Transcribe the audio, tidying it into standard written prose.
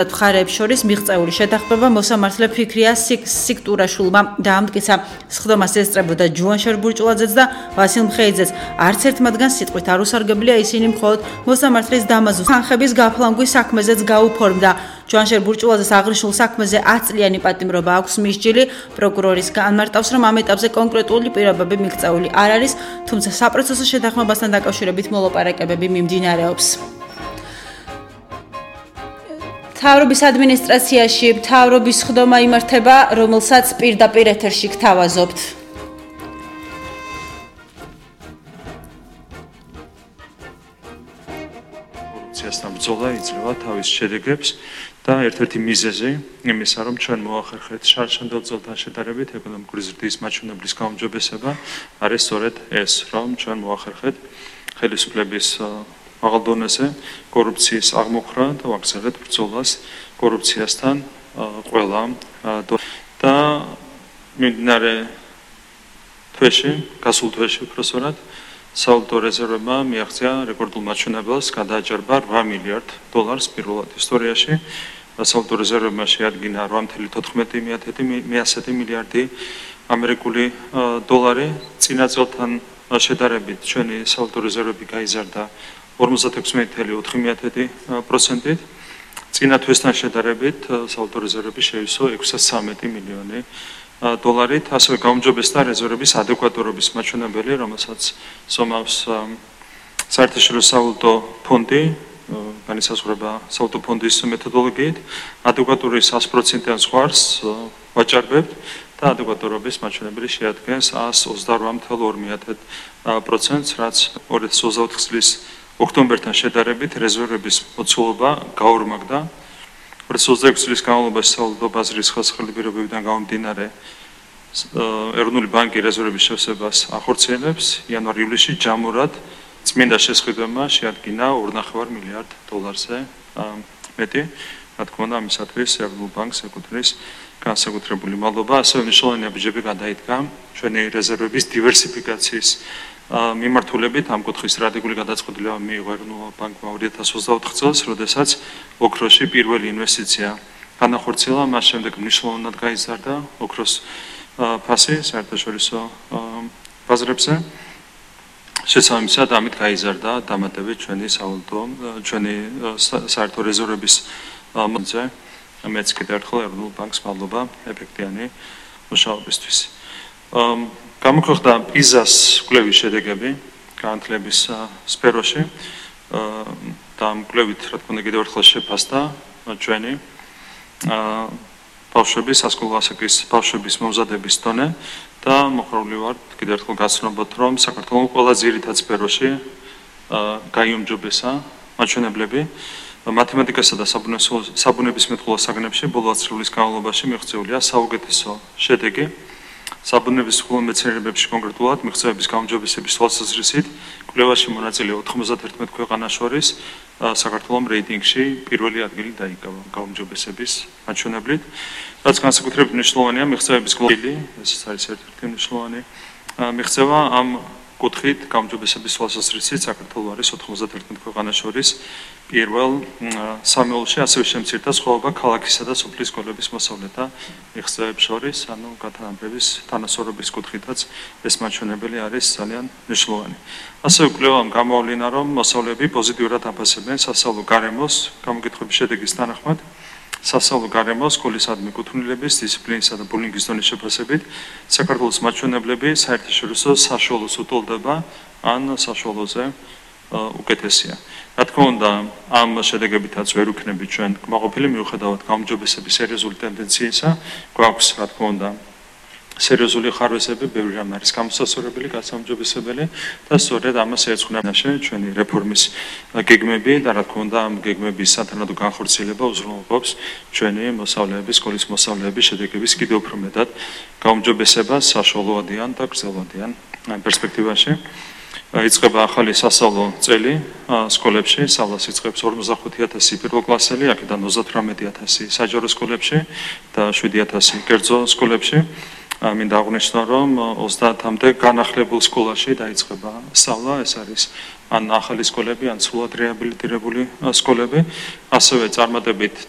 მხარეებს შორის მიღწეული შეთანხმება მოსამართლე ფიქრია სიქტურაშვილმა დაამტკიცა. სხდომას ესწრებოდა ჯუანშერ ბურჭულაძეც და ვასილ მხეიძეც. არც ერთ მათგანს სიტყვით არ უსარგებლია, ისინი მხოლოდ მოსამართლის დამაზუს თანხების გაფლანგვის საქმეზეც გაუფორმდა. ჯუანშერ ბურჭულაძეს აღნიშნულ საქმეზე 10 წლიანი პატიმრობა აქვს მისჯილი. პროკურორის განმარტავს, რომ ამ ეტაპზე კონკრეტული პირობები მიღწეული არ არის, თუმცა საპროცესო შეთანხმებასთან დაკავშირებით მოლაპარაკებები მიმდინარეობს. მთავრობის ადმინისტრაციაში მთავრობის სხდომა იმართება, რომელსაც პირდაპირ ეთერში გთავაზობთ. კორუფციასთან ბრძოლა იძლევა თავის შედეგებს და ერთ-ერთი მიზეზი იმისა, რომ ჩვენ მოახერხეთ შარშანდელ წელთან შედარებით ეკონომიკური ზრდის მაჩვენებლის გაუმჯობესება, არის სწორედ ეს, რომ ჩვენ მოახერხეთ ხელისუფლების მაღალ დონეზე კორუფციის აღმოფხვრა და ვაგრძელებთ ბრძოლას კორუფციასთან ყველა და მიმდინარე თვეში, გასულ თვეში უпроსორად სავალუტო რეზერვებმა მიაღწია რეკორდულ მაჩვენებელს, გადააჭარბა 8 მილიარდ დოლარს პირველად ისტორიაში. სავალუტო რეზერვებმა შეადგინა 8.14 მილიარდი ამერიკული დოლარი. წინა წელთან შედარებით ჩვენი სავალუტო რეზერვები გაიზარდა 56.4%. წინა თვესთან შედარებით სავალუტო რეზერვები შეივსო 613 მილიონი დოლარით. ასევე გაუმჯობესდა რეზერვების ადეკვატურობის მაჩვენებელი, რომელსაც ზომავს საერთაშორისო სავალუტო ფონდი, განისაზღვრება სავალუტო ფონდის მეთოდოლოგიით. ადეკვატურის 100%-იან ზღვარს ვაჭარბებთ და ადეკვატურობის მაჩვენებელი შეადგენს 122.2%, რაც 2024 წლის ოქტომბერთან შედარებით რეზერვების მოცულობა გაორმაგდა. 2026 წლის განმავლობაში სავალუტო ბაზრის ხელსაყრელი პირობებიდან გამომდინარე ეროვნული ბანკი რეზერვების შევსებას ახორციელებს. იანვარ-ივლისში ჯამურად წმინდა შესყიდვებმა შეადგინა 2.5 მილიარდ დოლარზე მეტი. რა თქმა უნდა, ამისათვის ეროვნულ ბანკს ეკუთვნის განსაკუთრებული მადლობა. ასევე მნიშვნელოვანი აბიჯები გადაიდგა ჩვენი რეზერვების დივერსიფიკაციის მიმართულებით. ამ კუთხის სტრატეგიული გადაწყვეტილება მიიღო ეროვნულ ბანკმა 2024 წელს, როდესაც ოქროში პირველი ინვესტიცია განახორციელა, მას შემდეგ მნიშვნელოვნად გაიზარდა ოქროს ფასი საერთაშორისო ბაზრებზე. შესაბამისად, ამით გაიზარდა დამატებით ჩვენი საერთო რეზერვების მოძე. მეც კიდევ ერთხელ ეროვნულ ბანკს მადლობა ეფექტიანი მუშაობისთვის. გამოქვეყნდა პიზას კვლევის შედეგები განათლების სფეროში და ამ კვლევით, რა თქმა უნდა, კიდევ ერთხელ შეფასდა ჩვენი ბავშვების, სასკოლო ასაკის ბავშვების მომზადების დონე და მოხარული ვარ კიდევ ერთხელ გაცნობოთ, რომ საქართველოს ყველა ძირითად სფეროში გაიუმჯობესა მაჩვენებლები. მათემატიკასა და საბუნებისმეტყველო საგნებში ბოლო 10 წლის განმავლობაში მიღწეულია საუკეთესო შედეგი. საბუნებისმეტყველო მეცნიერებებში კონკრეტულად მიღწევების გაუმჯობესების თვალსაზრისით კვლევაში მონაწილე 91 ქვეყანას შორის საქართველოს რეიტინგში პირველი ადგილი დაიკავა გაუმჯობესების მაჩვენებლით. რაც განსაკუთრებით მნიშვნელოვანია მიღწევების გლობალი, ეს არის ერთ-ერთი მნიშვნელოვანი მიღწევა. ამ კუთხით გაუმჯობესების თვალსაზრისით საქართველოს არის 91 ქვეყანას შორის პირველ სამეულში, ასევე შემცირდა სხვაობა ქალაქისა და სოფლის სკოლების მოსწავლეთა მიღწევებს შორის, ანუ გათანაბრების თანასწორობის კუთხითაც ეს მაჩვენებელი არის ძალიან მნიშვნელოვანი. ასევე კვლევამ გამოავლინა, რომ მოსწავლეები პოზიტიურად აფასებენ სასწავლო გარემოს გამოკითხების შედეგის თანახმად. სასწავლო გარემო სკოლისადმი კუთვნილების, დისციპლინისა და ბულინგის დონის შეფასებით საქართველოს მაჩვენებლები საერთაშორისო საშუალოს უტოლდება ან საშუალოზე უკეთესია. რა თქმა უნდა, ამ შედეგებითაც ვერ ვიქნებით ჩვენ კმაყოფილი, მიუხედავად გაუმჯობესების სერიოზული ტენდენციისა, გვაქვს, რა თქმა უნდა, სერიოზული ხარვესები, ბევრი რამ არის გამოსასწორებელი, გასაუმჯობესებელი და სწორედ ამას ეძღვნება ჩვენი რეფორმის გეგმები და რა თქმა უნდა, ამ გეგმების სათანადო განხორციელება უზრუნველყოფს ჩვენი მოსწავლეების, სკოლის მოსწავლეების შედეგების კიდევ უფრო მეტად გაუმჯობესებას საშუალოადიან და გრძელვადიან პერსპექტივაში. იწყება ახალი სასწავლო წელი სკოლებში, სწავლას იწყებს 45,000 პირველ კლასელი, აქედან 38,000 საჯარო სკოლებში და 7,000 კერძო სკოლებში. მინდა აღვნიშნო, რომ 30-მდე განახლებულ სკოლაში დაიწყება სწავლა, ეს არის ან ახალი სკოლები, ან სრულად რეაბილიტირებული სკოლები, ასევე წარმატებით